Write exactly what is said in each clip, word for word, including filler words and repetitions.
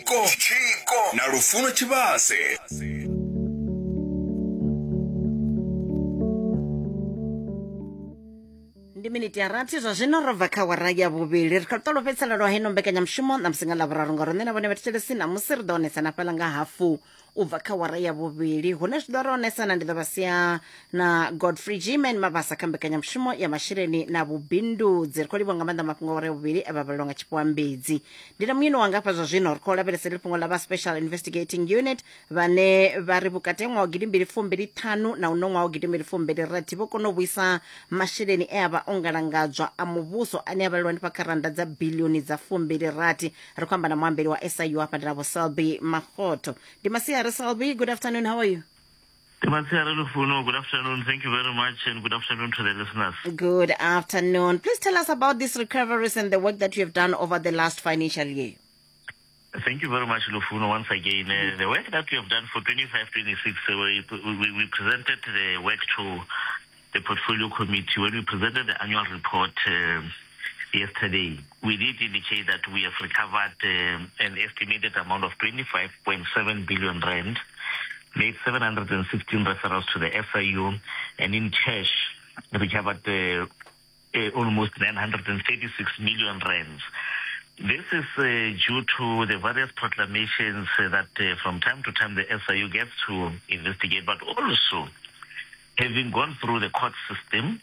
Tshiko Tshiko na Lufuno Tshivhase. Ndi miniti ya rathi zwa zwino ro bva kha wara ya vhuvhili. Ri kha ṱolo fhedzisela lwa heno mbekanyamushumo ṋamusi nga ḽavhuraru ngauri nṋe na vhone vhathetshelesi ṋamusi ri ḓo onesana fhaḽa nga hafu u bva kha wara ya vhuvhili, hune zwi ḓo ri onesana ndi ḓo vha sia na Godfrey Gman Mabasa kha mbekanyamushumo ya masheleni na vhubindudzi. Ri khou livhuwa nga maanḓa mafhungo a wara ya vhuvhili e vha vhalelwa nga Tshifhiwa Mbedzi. Ndi na muyeni wanga hafha zwa zwino ri khou lavhelesa ḽi fhungo ḽa vha Special Investigating Unit vhane vha ri vhukati ha ṅwaha wa gidimbili fumbili ṱhanu na uno ṅwaha wa gidimbili fumbili rathi vho kona u vhuisa masheleni e a vha o ngalangadzwa a muvhuso ane a vhalelwa hanefha kha rannda dza bilioni dza fumbili rathi. Ri khou amba na muambeli wa S I U hafha ndi na Vho Selby Makgotho. Ndi masiari Selby, good afternoon, how are you? Masiari Lufuno, good afternoon. Thank you very much, and good afternoon to the listeners. Good afternoon. Please tell us about these recoveries and the work that you have done over the last financial year. Thank you very much, Lufuno, once again. Uh, the work that we have done for twenty-five twenty-six, uh, we, we, we presented the work to the Portfolio Committee when we presented the annual report uh, yesterday. We did indicate that we have recovered um, an estimated amount of twenty-five point seven billion rand, made seven hundred sixteen referrals to the S I U, and in cash recovered uh, uh, almost nine hundred thirty-six million rands. This is uh, due to the various proclamations uh, that uh, from time to time the S I U gets to investigate, but also having gone through the court system,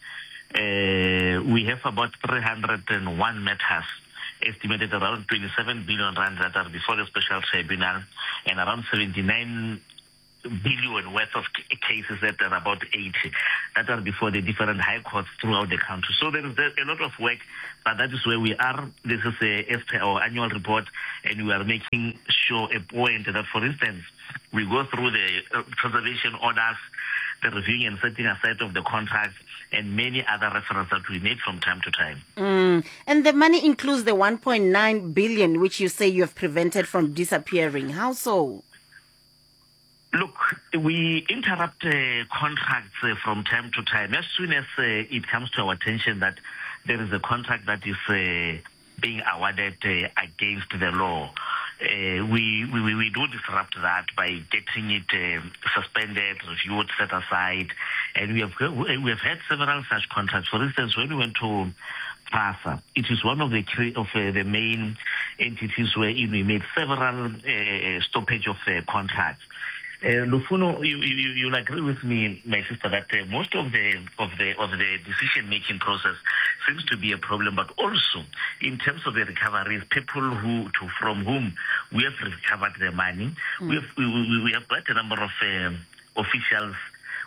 uh, we have about three hundred one matters estimated around twenty-seven billion rand that are before the special tribunal, and around seventy-nine billion worth of cases that are about eighty that are before the different high courts throughout the country. So there is a lot of work, but that is where we are. This is a, S P our annual report, and we are making sure a point that, for instance, we go through the preservation orders, the reviewing and setting aside of the contracts, and many other references that we make from time to time. Mm. And the money includes the one point nine billion, which you say you have prevented from disappearing. How so? Look, we interrupt uh, contracts uh, from time to time. As soon as uh, it comes to our attention that there is a contract that is uh, being awarded uh, against the law, uh, we, we, we do disrupt that by getting it uh, suspended, reviewed, set aside. And we have, we have had several such contracts. For instance, when we went to PRASA, it is one of the of uh, the main entities wherein we made several uh, stoppage of uh, contracts. Uh, Lufuno, you, you, you'll agree with me, my sister, that uh, most of the of the of the decision making process seems to be a problem, but also in terms of the recoveries, people who to from whom we have recovered the money, mm. we have we, we, we have quite a number of um, officials.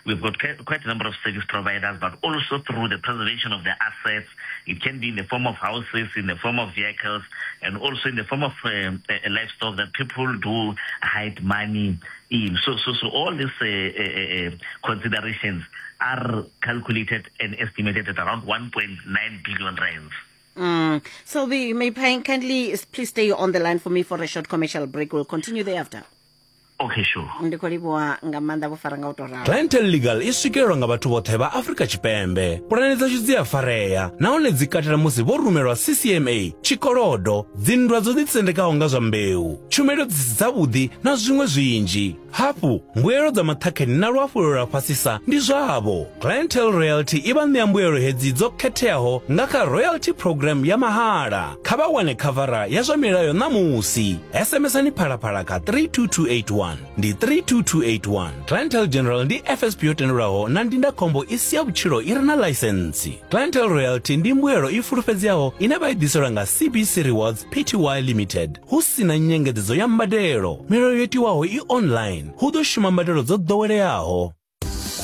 We've got quite a number of service providers, but also through the preservation of the assets. It can be in the form of houses, in the form of vehicles, and also in the form of um, livestock that people do hide money in. So, so, so all these uh, uh, considerations are calculated and estimated at around one point nine billion rands. Mm. So, we may kindly please stay on the line for me for a short commercial break. We'll continue thereafter. Okay, sure. Ndi khou livhuwa nga maanḓa vho fara nga u tou ralo. Clientele Legal i swikelelwa nga vhathu vhoṱhe vha Afrika Tshipembe. Pulane dzashu dzi a farea nahone dzi katela musi vho rumelwa C C M A, tshikolodo, dzinndwa dzo ḓisendekaho nga zwa mbeu, tshumelo dzi si dzavhuḓi na zwiṅwe zwinzhi. Hafhu, mbuelo dza maṱhakheni na luafhulelo lwa fhasisa ndi zwavho. Clientele Royalty i vha ṋea mbuelo hedzi dzo khetheaho nga kha royalty program ya mahala. Kha vha wane khavara ya zwa milayo ṋamusi. S M S-ani Phalaphala kha three two two eight one. Ndi three two two eight one. Clientele General ndi F S P yo tendelwaho na ndindakhombo i si ya vhutshilo i re na ḽaisentsi. Clientele Royalty ndi mbuelo i fulufhedzeaho ine vha i ḓiselwa nga C B C Rewards P T Y Limited hu si na nyengedzedzo ya mbadelo. Milayo yo tiwaho i online. Hu ḓo shuma mbadelo dzo ḓoweleaho.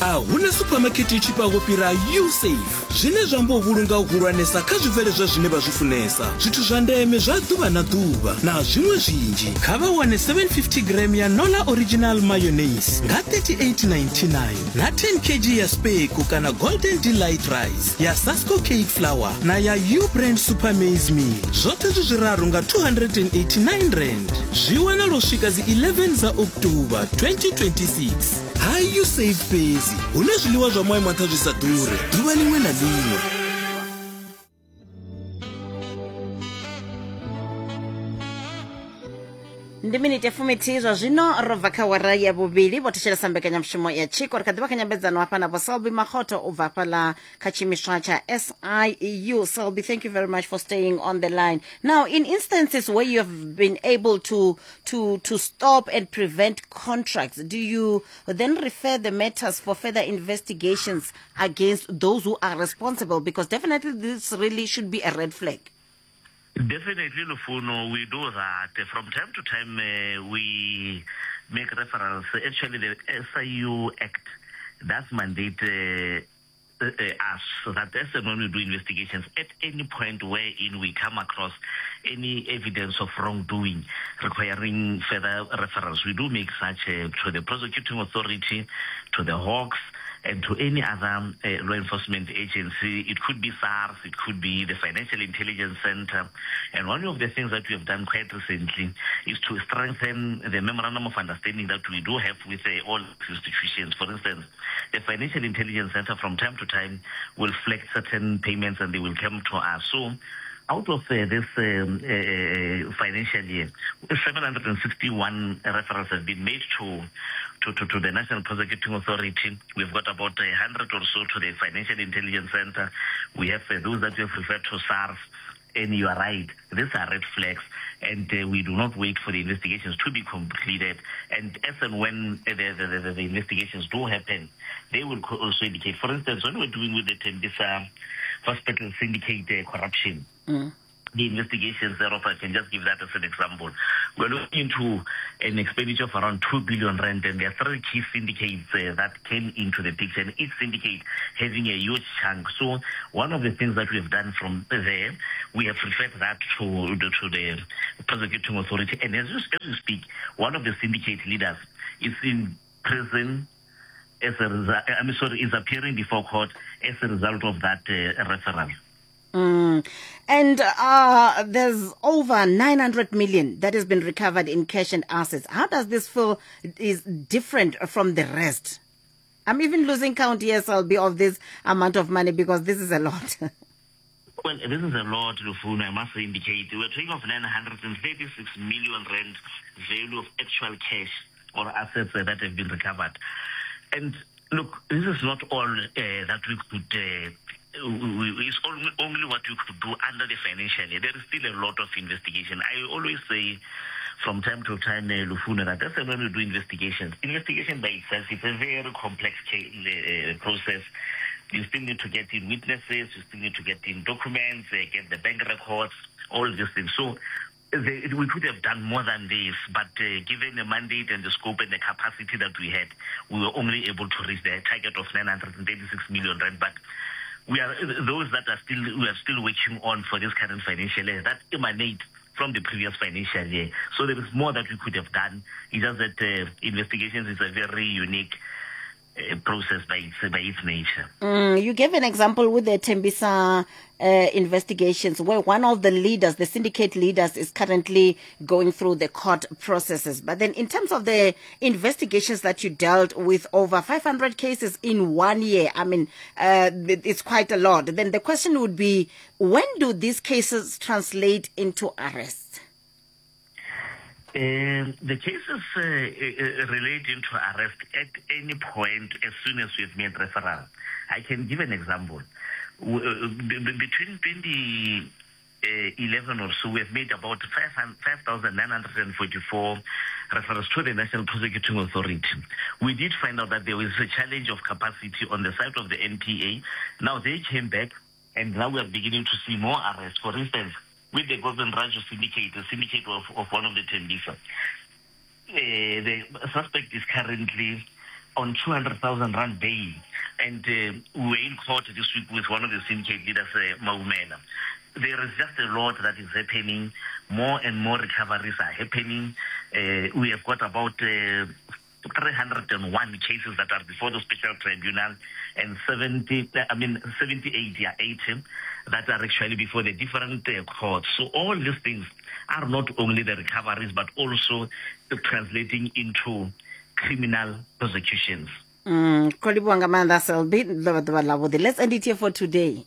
A huna supermarket i tshifhaho fhira USafe, zwine zwa amba u vhulunga u hulwanesa kha zwibveledzwa zwine vha zwi funesa, zwithu zwa ndeme zwa ḓuvha na ḓuvha na zwiṅwe zwinzhi. Kha vha wane seven fifty gram ya Nola Original Mayonnaise nga thirty-eight ninety-nine na ten kilograms ya Speku kana Golden Delight Rice ya Sasco Cake Flour na ya U Brand Super Maize Meal, zwoṱhe zwi zwiraru nga two hundred and eighty-nine rand. Zwi wanala u swika dzi eleven dza October twenty twenty-six. Ha USafe fhedzi hune zwiḽiwa zwa maimo a nṱha zwi sa ḓure ḓuvha ḽiṅwe na ḽiṅwe. Ndi miniti ya fumithihi zwa zwino ro bva kha wara ya vhuvhili. Vho thetshelesa mbekanyamushumo ya Tshiko. Ri kha ḓivha kha nyambedzano hafha na Vho Selby Makgotho u bva hafhaḽa kha tshiimiswa tsha S I U. Selby, thank you very much for staying on the line. Now, in instances where you have been able to to to stop and prevent contracts, do you then refer the matters for further investigations against those who are responsible? Because definitely this really should be a red flag. Definitely, Lufuno, we do that. From time to time, uh, we make referrals. Actually, the S I U Act does mandate uh, uh, us that as and when we do investigations, at any point wherein we come across any evidence of wrongdoing requiring further referrals, we do make such uh, to the prosecuting authority, to the Hawks, and to any other uh, law enforcement agency. It could be SARS, it could be the Financial Intelligence Center. And one of the things that we have done quite recently is to strengthen the memorandum of understanding that we do have with uh, all institutions. For instance, the Financial Intelligence Center from time to time will flag certain payments and they will come to us. So out of uh, this um, uh, financial year, seven hundred sixty-one referrals have been made to, to, to, to the National Prosecuting Authority. We've got about a hundred or so to the Financial Intelligence Center. We have uh, those that we have referred to SARS. And you are right, these are red flags, and uh, we do not wait for the investigations to be completed. And as and when the, the, the, the investigations do happen, they will also indicate. For instance, when we're doing with the Tembisa Hospital Syndicate uh, corruption, mm. the investigations thereof, I can just give that as an example. We're looking into an expenditure of around two billion rand, and there are three key syndicates uh, that came into the picture, and each syndicate having a huge chunk. So one of the things that we've done from there, we have referred that to the, to the prosecuting authority. And as you, as we speak, one of the syndicate leaders is in prison as a result, I'm sorry, is appearing before court as a result of that uh, referral. Mm. And uh, there's over nine hundred million that has been recovered in cash and assets. How does this feel is different from the rest? I'm even losing count here, Selby, of this amount of money because this is a lot. Well, this is a lot, Lufuno, I must indicate. We're talking of nine hundred thirty-six million rand value of actual cash or assets that have been recovered. And look, this is not all uh, that we could uh, we, it's only, only what we could do under the financial year. There is still a lot of investigation. I always say from time to time, uh, Lufuno, that that's when we do investigations. Investigation by itself is a very complex uh, process. You still need to get in witnesses, you still need to get in documents, uh, get the bank records, all these things. So the, we could have done more than this, but uh, given the mandate and the scope and the capacity that we had, we were only able to reach the target of nine hundred thirty-six million rand. But we are those that are still we are still working on for this current financial year that emanate from the previous financial year. So there is more that we could have done. It's just that uh, investigations is a very unique uh, process by its, by its nature. Mm, you gave an example with the Tembisa uh, investigations where one of the leaders, the syndicate leaders, is currently going through the court processes. But then in terms of the investigations that you dealt with, over five hundred cases in one year, I mean, uh, it's quite a lot. Then the question would be, when do these cases translate into arrest? Um, the cases uh, uh, relate into arrest at any point as soon as we've made referral. I can give an example. W- uh, b- b- between twenty eleven or so, we have made about five thousand nine hundred forty-four referrals to the National Prosecuting Authority. We did find out that there was a challenge of capacity on the side of the N P A. Now they came back, and now we are beginning to see more arrests. For instance, with the Govind Raju syndicate, the syndicate of, of one of the Tembisa, uh, the suspect is currently on two hundred thousand rand bail. And uh, we were in court this week with one of the syndicate leaders, uh, Maumela. There is just a lot that is happening. More and more recoveries are happening. Uh, we have got about uh, three hundred one cases that are before the special tribunal and seventy, I mean, seventy-eight, yeah, eighty that are actually before the different uh, courts. So all these things are not only the recoveries, but also translating into criminal prosecutions. Mm, Kho livhuwa nga maanḓa, Selby. Ḓuvha ḓuvha ḽavhuḓi. Let's end it here for today.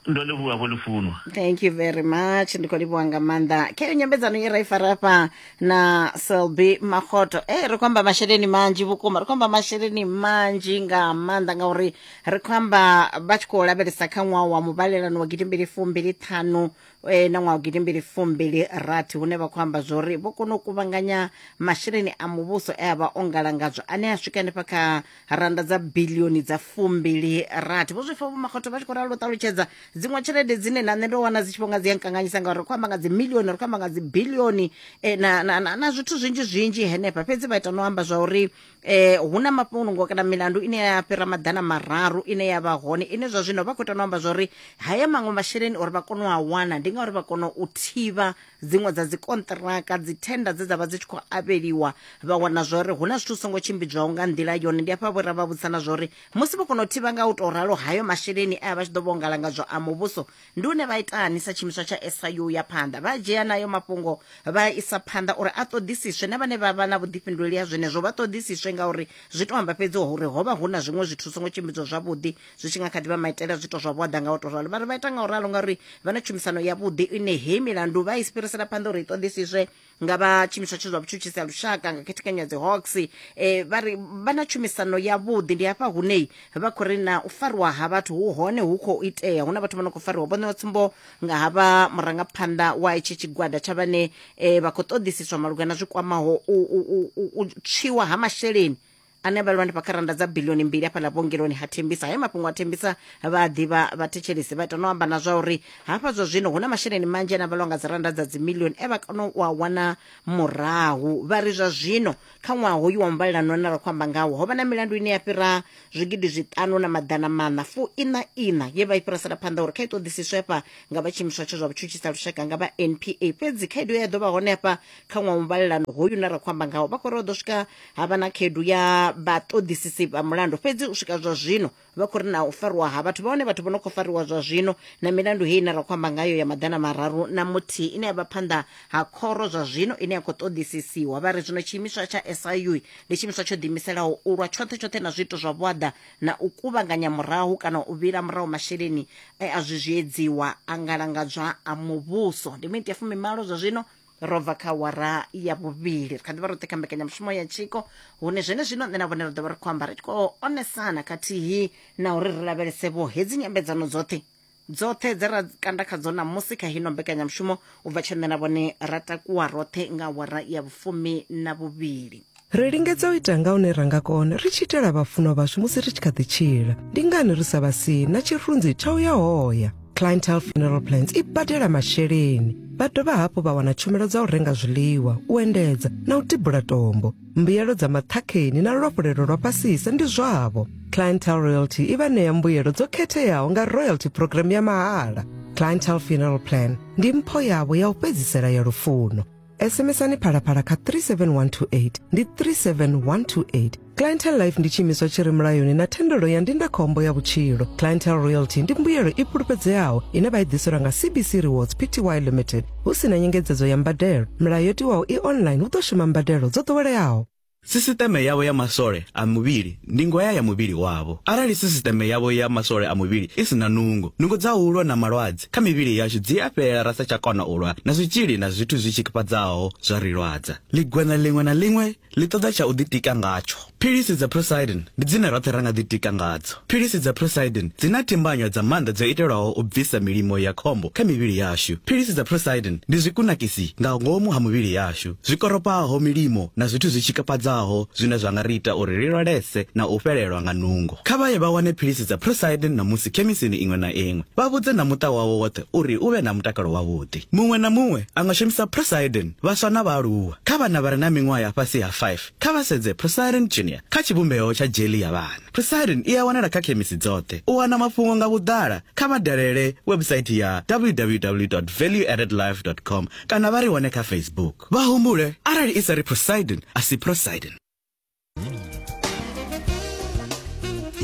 Ndo livhuwa vho Lufuno. Thank you very much. Ndi khou livhuwa nga maanḓa. Khayo nyambedzano ye ra i fara hafha na Selby Makgotho. Eh ri khou amba masheleni manzhi vhukuma, ri khou amba masheleni manzhi nga maanḓa ngauri ri khou amba vha tshi khou lavhelesa kha ṅwaha wa muvhalelano wa gidimbili fumbili ṱhanu eh, na ṅwaha wa gidimbili fumbili rathi, hune vha khou amba zwori vho kona u kuvhanganya masheleni a muvhuso e a vha o ngalangadzwa ane a swika hanefha kha randa dza bilioni dza fumbili rathi. Vho zwi pfa Vho Makgotho vha tshi khou ralo u ṱalutshedza dziṅwe tshelede dzine na nṋe ndo wana dzi tshi vho nga dzi a nkanganyisa ngauri ri khou amba nga dzi milioni, ri khou amba nga dzi bilioni eh, na, na, na, na zwithu zwinzhi zwinzhi henefha. Fhedzi vha ita no amba zwa uri eh, hu na mafhungo kana milandu ine ya fhira maḓana mararu ine ya vha hone, ine zwa zwino vha khou ita no amba zwa uri haya maṅwe masheleni uri vha kone u a wana ndi ngauri vha kona u thivha dziṅwe dza dzi kontraka, dzi tenda dze dza vha dzi tshi khou avheliwa, vha wana zwa uri hu na zwithu songo tshimbidzwaho nga nḓila yone. Ndi hafha vho ra vha vhudzisana zwa uri musi vho kona u thivha nga u tou ralo hayo masheleni a vha tshi ḓo vho ngalangadzwa a muvhuso, ndi hune vha itani sa tshiimiswa tsha S I U ya phanḓa, vha dzhia nayo mafhungo vha isa phanḓa uri a ṱoḓisiswe, na vhane vha vha na vhuḓifhinduleli ha zwenezwo vha ṱoḓisiswe, ngauri zwi to amba fhedzi uri ho vha hu na zwiṅwe zwithu songo tshimbidzwa zwavhuḓi zwi tshi nga kha ḓi vha maitele a zwithu zwa vhuaḓa nga u tou ralo. Vha ri vha ita nga u ralo ngauri vha na tshumisano yavhuḓi ine hei milandu vha i fhirisela phanḓa uri i ṱoḓisiswe nga vha tshiimiswa tsha zwa vhutshutshisi ha lushaka nga khethekanyo ya dzi Hawks. Eh, vha ri vha na tshumisano yavhuḓi. Ndi hafha hune vha khou ri na u fariwa ha vhathu hu hone hu khou itea, hu na vhathu vha no khou fariwa. Vho ṋewa tsumbo nga havha murangaphanḓa wa itshi tshigwada tsha vhane eh, vha khou ṱoḓisiswa malugana zwi kwamaho u, u, u, u tswiwa ha masheleni ane vha lwa kha randa dza bilioni mbili hafhaḽa vhuongeloni ha Thembisa. Hayo mafhungo a Thembisa vha ḓivha vhathetshelesi, vha ita no amba na zwa uri hafha zwa zwino hu na masheleni manzhi ane a vhalwa nga dzi randa dza dzimilioni e vha kona u a wana murahu. Vha ri zwa zwino kha ṅwaha hoyu wa muvhalelano une ra khou amba ngawo ho vha na milandu ine ya fhira zwigidi zwiṱanu na maḓana maṋa fu ina ina ye vha i fhirisela phanḓa uri kha i ṱoḓisiswe hafha nga vha tshiimiswa tsha zwa vhutshutshisi ha lushaka nga vha N P A. Fhedzi khaedu ya ḓo vha hone hafha kha ṅwaha wa muvhalelano hoyu une ra khou amba ngawo, vha khou ri ḓo swika ha vha na khaedu ya vhaṱoḓisisi vha mulandu, fhedzi u swika zwa zwino vha khou ri na u fariwa ha vhathu vha hone, vhathu vho no khou fariwa zwa zwino na milandu heyi ine ra khou amba ngayo ya maḓana mararu na muthihi ine ya vha phanḓa ha khoro zwa zwino ine ya khou ṱoḓisisiwa. Vha ri zwino tshiimiswa tsha S I U ndi tshiimiswa tsho ḓiimiselaho u lwa tshoṱhe tshoṱhe na zwiito zwa vhuaḓa na u kuvhanganya murahu kana u vhila murahu masheleni e a zwi zwiedziwa a ngalangadzwa a muvhuso. Ndi miniti ya fumimalo zwa zwino ro bva kha wara ya vhuvhili. Ri kha ḓi vha roṱhe kha mbekanyamushumo ya Tshiko, hune zwenezwino nṋe na vhone ri ḓo vha ri khou amba ri tshi khou onesana khathihi na uri ri lavhelese vho hedzi nyambedzano dzoṱhe dzoṱhe dze ra kanda khadzo ṋamusi kha hino mbekanyamushumo u bva tshe nṋe na vhone ra takuwa roṱhe nga wara ya vhufumi na vhuvhili. Ri lingedza u ita nga hune ra nga kona ri tshi itela vhafunwa vhashu musi ri tshi kha ḓi tshila. Ndi ngani ri sa vha sii na tshirunzi tsha u ya hoya? Clientele Funeral Plans i badela masheleni. Vha dovha hafhu vha wana tshumelo dza u renga zwiḽiwa, u endedza na u tibula tombo. Mbuyelo dza maṱhakheni na luafhulelo lwa fhasisa ndi zwavho. Clientele Royalty i vha ṋea mbuyelo dzo khetheaho nga royalty program ya mahala. Clientele Funeral Plan ndi mpho yavho ya u fhedzisela ya lufuno. S M S-ani Phalaphala kha three seven one two eight ndi three seven one two eight. Clientele Life ndi tshiimiswa tshi re mulayoni na thendelo ya ndindakhombo ya vhutshilo. Clientele Royalty ndi mbuyelo i fhulufhedzeaho ine vha i ḓiselwa nga C B C Rewards P T Y Limited hu si na nyengedzedzo ya mbadelo. Milayo yo tiwaho i online hu ḓo shuma mbadelo dzo ḓoweleaho. Sisiṱeme yavho ya masole a muvhili ndi ngoya ya muvhili wavho. Arali sisiṱeme yavho ya masole a muvhili i si na nungo, nungo dza u lwa na malwadze kha mivhili yashu dzi a fhela ra sa tsha kona u lwa na zwitzhili na zwithu zwi tshikafhadzaho zwa ri lwadza. Ḽigweṋa ḽiṅwe na ḽiṅwe ḽi ṱoḓa tsha u ḓitika ngatsho. Philisi dza Procyden ndi dzine roṱhe ra nga ḓitika ngadzo. Philisi dza Procyden dzi na thimbanywa dza maanḓa dzo itelwaho u bvisa milimo ya khombo kha mivhili yashu. Philisi dza Procyden ndi zwikunakisi nga ngomu ha muvhili yashu, zwi koropaho milimo na zwithu zwi tshikafhadzaho zwine zwa nga ri ita uri ri lwalese na u fhelelwa nga nungo. Kha vha ye vha wane philisi dza Procyden namusi khemisini iṅwe na iṅwe. Vha vhudze na muṱa wavho woṱhe uri u vhe na mutakalo wavhuḓi. Muṅwe na muṅwe a nga shumisa Procyden, vhaswa na vhaaluwa. Kha vhana vha re na miṅwaha ya fhasi ha five, kha vha sedze Procyden Junior kha tshivhumbeo tsha jelly ya vhana. Procyden i a wanala kha khemisi dzoṱhe. U wana mafhungo nga vhuḓala kha vha dalele website ya w w w dot value added life dot com kana vha ri wane kha Facebook. Vha humbule arali i sa ri Procyden a si Procyden.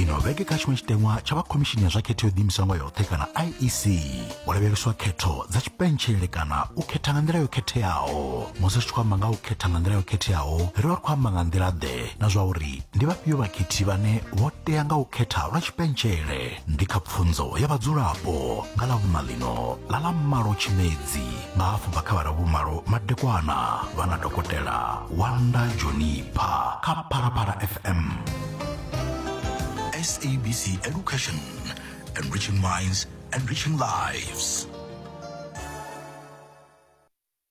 Ino vhege kha tshiṅwe tshiteṅwa tsha vha khomishini ya zwa khetho yo ḓiimisaho nga yoṱhe kana I E C ho lavheleswa khetho dza tshipentshele kana u khetha nga nḓila yo khetheaho. Musi ri tshi khou amba nga u khetha nga nḓila yo khetheaho, ri vha ri khou amba nga nḓila ḓe na zwa uri ndi vhafhio vhakhethi vhane vho tea nga u khetha lwa tshipentshele. Ndi kha pfunzo ya vhadzulapo nga ḽavhuṋa ḽino ḽa ḽa malo Tshimedzi nga hafu bva kha vha vhumalo madekwana vha na dokotela Wanda Jonipa kha Phalaphala F M. S A B C Education, enriching minds, enriching lives.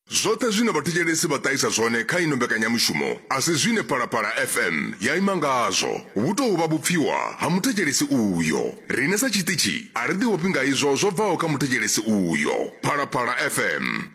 Zwoṱhe zwine vhathetshelesi vha ṱahisa zwone kha ino mbekanyamushumo a si zwine Phalaphala F M ya ima ngazwo. Vhu tou vha vhupfiwa ha muthetshelesi uyo. Riṋe sa tshiṱitshi a ri ḓiofhi nga izwo zwo bvaho kha muthetshelesi uyo. Phalaphala F M.